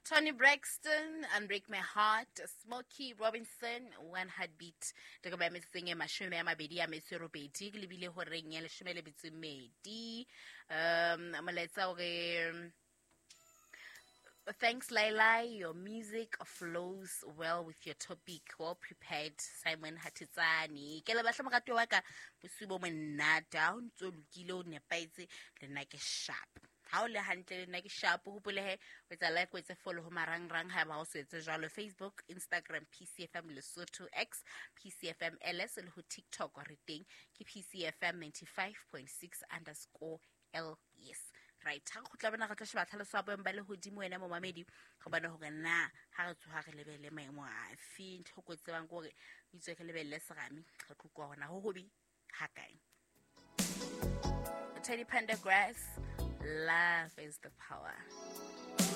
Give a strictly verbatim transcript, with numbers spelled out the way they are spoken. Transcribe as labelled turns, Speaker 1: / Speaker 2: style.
Speaker 1: Toni Braxton, Unbreak My Heart, Smokey Robinson, One Heartbeat. Ke ba metsotsong e mashome a mabedi a metso e robedi, ke lebile horeng ya leshome le metso e mmedi. Um molaetsa o re, "Thanks, Laila. Your music flows well with your topic. Well prepared, Simon Hatitsani." Ke le batla morati wa ka, bosiu bo monate. Ha o ntso lokile, o nepahetse, le nna ke sharp. Ha o le hantle, le nna ke sharp. O hopole he, o etsa like, o etse follow ho marangrang haeba o so etse jwalo. Facebook, Instagram, P C F M Lesotho, X, P C F M L S, le ho TikTok re teng ke P C F M ninety-five point six underscore L S. Right, ha re kgutla bona, re tlo sheba tlhaloso ya boemo ba lehodimo, wena momamedi, re bone hore na ha re tsoha re lebelle maemo afe. Ntho e ko tsebang ke hore o itswe re lebelle serame, re tlo utlwa hore na ho hobe ha kae. Teddy Pendergrass, Love Is the Power.